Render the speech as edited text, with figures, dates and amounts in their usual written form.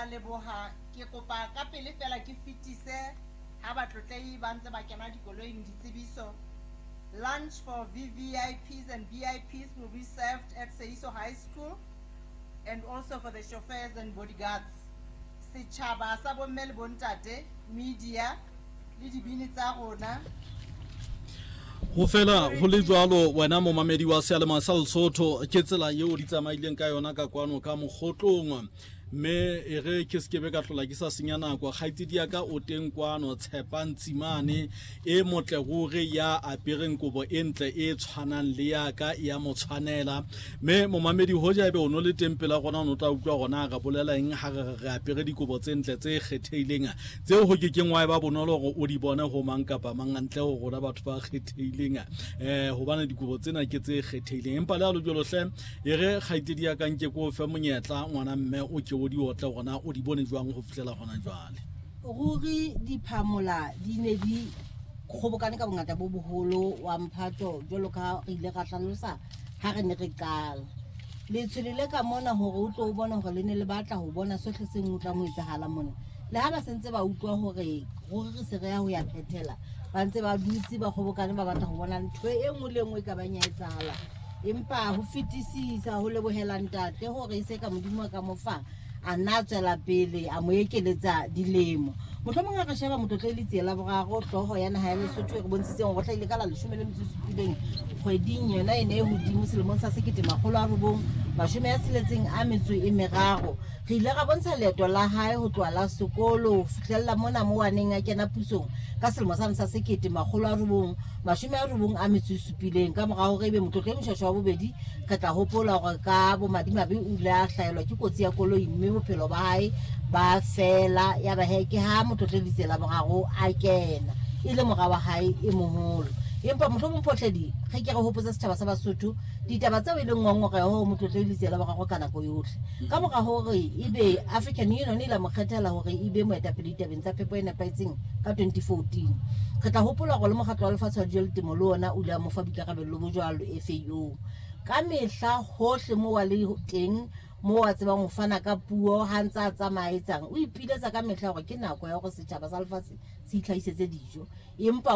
a leboha. Ke kopa ka pele fela ke fetise ha batlotlehi ba ntse ba kena dikoloing ditsebiso. Lunch for VVIPs and VIPs will be served at Seiso High School and also for the chauffeurs and bodyguards. Setjhaba sa bomme le bontate, media le dibini tsa rona. Go fela go le jwalo, wena momamedi wa seyalemoya sa Lesotho, ke tsela yeo di tsamaileng ka yona ka kwano ka mogotlong. Mme e re ke sekebe ka tlola ke sa senya nako, kgaitsedi ya ka o teng kwano, Tshepang Tsimane e motle ruri, ya apereng kobo e ntle e tshwanang le ya ka, ya mo tshwanela. Mme momamedi, hoja ebe o no le teng pela rona, o no tla utlwa rona re bolela eng ha re re apere dikobo tse ntle tse kgethehileng, tseo ho ke keng wa eba bonolo hore o di bone ho mang kapa mang ntle ho rona batho ba kgethehileng, hobane dikobo tsena ke tse kgethehileng. Empa le ha lo jwalo hle, e re kgaitsedi ya ka nke ko fe monyetla, ngwana mme, o ke o di otle gona o di bone jwang go fihlela gona jwale. Ruri diphamola di ne di kgobokane ka bongata bo boholo wa mphato, jwalo ka re ile ra hlalosa ha re ne re qala. Letshwele le ka mona hore o tlo o bone hore le ne le batla ho bona sohle se tlang ho etsahala mona. Le ha ba sentse ba utlwa hore ruri re se re ya ho ya phethela, ba ntse ba dutse ba kgobokane, ba batla ho bona ntho e nngwe le e nngwe e ka bang ya etsahala. Empa ho fetisisa ho lebohela ntate hore e se ka Modimo a ka mo fa, a nna a tswela pele a mo ekeletsa dilemo. Mohlomong ha re sheba Motlotlehli Letsie la Boraro, hlooho ya naha ya Lesotho, e re bontshitseng hore o hlahile ka la 17 kgweding yona e ne e hodimo selemong sa 1963. Re ile ra bontsha leeto la hae ho tloha la sekolo ho fihlella mona moo a neng a kena pusong ka selemo sane sa 1997. Ka mora hore ebe Motlotlehli Moshoeshoe wa bobedi, re tla hopola hore ka bomadimabe o ile a hlahelwa ke kotsi ya koloi mme bophelo ba hae ba fela. Ya ba he ke ha Motlotlehli Letsie la Boraro a kena e le mora wa hae e moholo. Empa mohlomong Photledi, re ke re hopotse setjhaba sa Basotho ditaba tseo e leng ngongoreho ho Motlotlehli Letsie la Boraro ka nako yohle. Ka mora hore ebe African Union e la mo kgethela hore e be moetapele ditabeng tsa phepo e nepahetseng ka 2014, re tla hopola hore le mokgatlo wa lefatshe wa dijo le temo le ona o ile a mo fa boikarabello bo jwalo, FAO. Ka mehla hohle moo a le teng, moo a tsebang ho fana ka puo ha ntse a tsamaya etsang, o ipiletsa ka mehla hore ke nako ya hore setjhaba sa lefatshe se itlhahisetse dijo. Empa